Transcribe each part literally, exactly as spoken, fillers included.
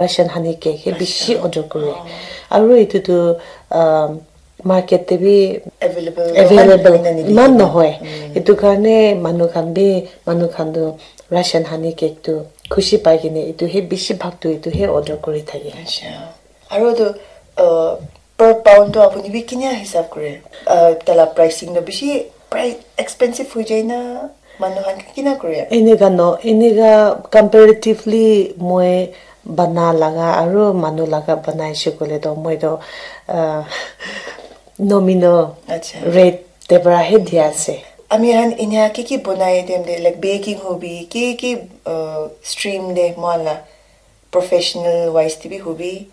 Russian honey cake he bishi order kore. Aru etu tu um, market te bi available iman nohoi. Etu karne manu khan bi manu khan tu Russian honey cake tu khushi pai kene etu he bishi bhag tu etu he order kuri thake. Aru tu uh, per pound tu apuni bi kinia hisab kore? Uh, tala pricing tu bishi price expensive hoi jai na? Manu khan kina kore? Enika no, enika comparatively moi bana laga aru manu laga banai she koile to moi to uh, nominal rate te para he dia ase. Ami khan inia ki ki bonai dem de, like baking hobi, ki ki uh, stream de moala professional wise te bi hobi,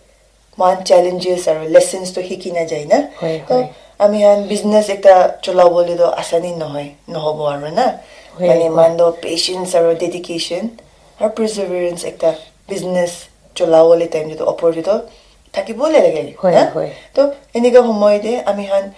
moan challenges aru lessons to hiki na jai na. Hoi, to hoi. Ami khan business ekta chola bole to asani nohoi, nohobo aru na. Hoi, mane hoi. Moan to patience aru dedication aru perseverance ekta business chola bole time to opor to thaki bole lage. Hoi, na? Hoi. To enika homoy de ami khan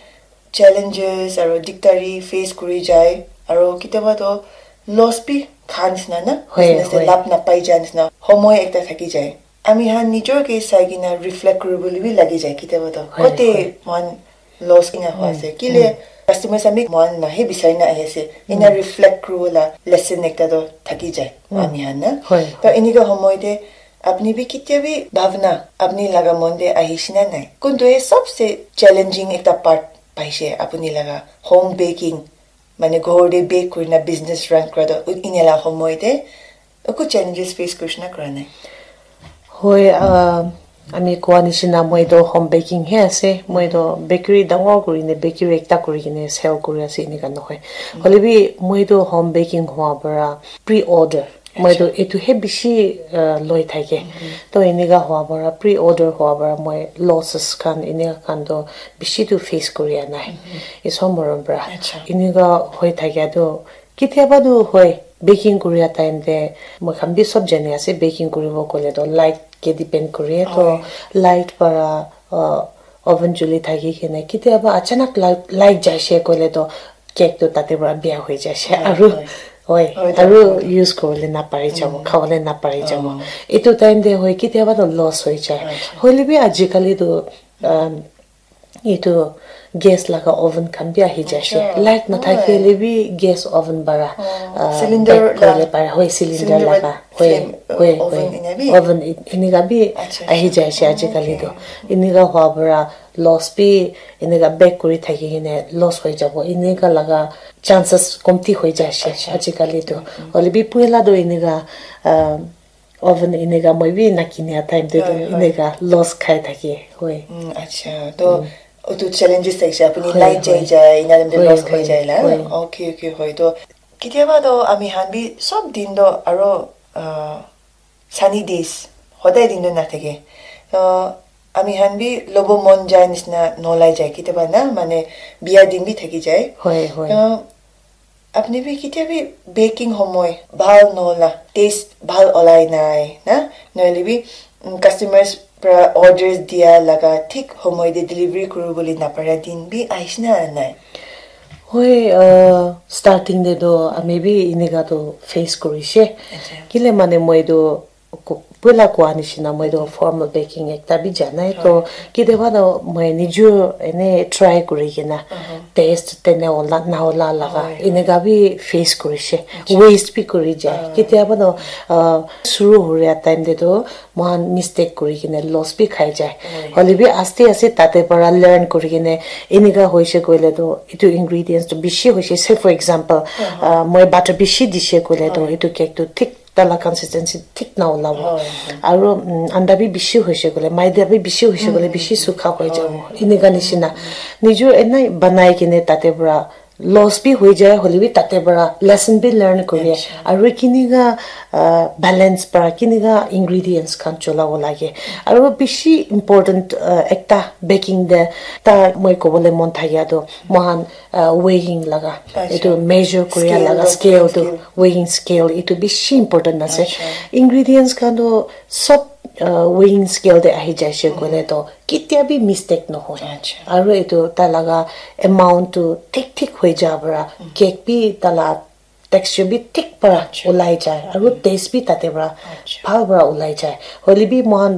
challenges aru dictary face kuri jai aru kitiaba to loss bi khan nisna na. Hoi, business de hoi. Lab na pai jai nisna homoy ekta thaki jai. Ami khan nijor ke sai kena reflect kuribole bi lagi jai kitiaba to. Hoi, kote hoi. Moan loss ina hoi ase. Kile customers ami moan na he bisai na ahi ase. Ina reflect kuribola lesson ekta to thaki jai. Ami khan na. Hoi, to hoi. Enika homoy de apni bi kitia bi bhavna apni laga mon de ahi shina nai. Kuntu he sabse challenging ekta part paise apni laga home baking mane ghor de bake kurina business run kura to ina la homoy de Eku challenges face kurishina kura nai? Hoi, uh, ami koa nishina moi to home baking he ase. Moi to bakery dangor kuri kene bakery ekta kuri kene sell kuri ase enika nohoi. Hoile bi moi to home baking hua para pre-order. Moi to etu he bishi uh, loi thake. To enika hua para pre-order hua para moi losses khan enika khan to bishi to face kuri anai. Iso morom para. Enika hoi thake to Kitiaba tu hoi, baking kuria time te moi khan bi sob jani ase, baking kuribo koile to light ke depend kure to light para uh, oven juli thaki kene kitiaba achanak light, light jaise koile to cake to tate para bia hoi jaise aru hoi aru use kuribole napari jabo khabole napari jabo etu time te hoi kitiaba to loss hoi jai hoile bi ajikali to um, etu gas laga oven khan bi ahi jaise light nathakile bi gas oven para ah, cylinder bake kuribole para hoi cylinder laga hoi hoi hoi oven enika bi ahi jaise ajikali tu enika hua para loss bi enika bake kuri thaki kene loss hoi jabo enika laga chances komti hoi jaise ajikali tu hoile bi puila tu enika ah, Oven enika moi bi nakinia time te tu enika loss khai thaki hoi. Mm, acha. To otu challenges thaise apuni light jai jai ina time te loss khai jai la. Okay, okay, hoi to. Kitiaba to ami khan bi sob din to aro uh, sunny days hodai din to nathake. To ami khan bi lobo mon jai nisna nolai jai kitiaba na mane bia din bi thaki jai. Hoi, hoi. To Apni bi kitia bi baking homoi bhal nohola, taste bhal olai nai na, nohoile bi mm, customers pra orders dia laga thik homoi te delivery kuri bole napara din bi ahishe na nai? Hoi, uh, starting te toh ami bi enika toh face kurishe. Kile mane moi toh Ko- Puila koa nishina moi toh formal baking ekta bi janai toh kitiaba toh moi nijor ene try kuri kena taste tene ola na ola laga enika bi face kurishe waste bi kuri jai kitiaba toh uh, suru huria time te toh mohan mistake kuri kena loss bi khai jai hoile bi aste aste tate para learn kuri kena enika hoishe koile toh etu ingredients toh bishi hoishe say for example uh, moi butter bishi dishe koile toh etu cake toh thik tala consistency thik na olabo aru um, anda bi bishi hoise koile maida bi bishi hoise koile bishi sukha hoi jabo enika nishina nijor enai banai kene tate para loss bi hoi jai hoile bi tate para lesson bi learn kuri aru kinika uh, balance para kinika ingredients khan cholabo lage aru bishi important uh, ekta baking te ta moi kobole mon thakia tu moikhan uh, weighing laga etu measure kuria laga scale tu weighing scale etu bishi important ase ingredients khan tu sob uh, weighing scale te ahi jaise koile to ketia bi mistake nohoi aru etu tai laga amount tu thik thik hoi ja para cake bi tai la texture bi thik para ulai jai aru taste bi tate para bhal para ulai jai. Hoile bi moikhan tu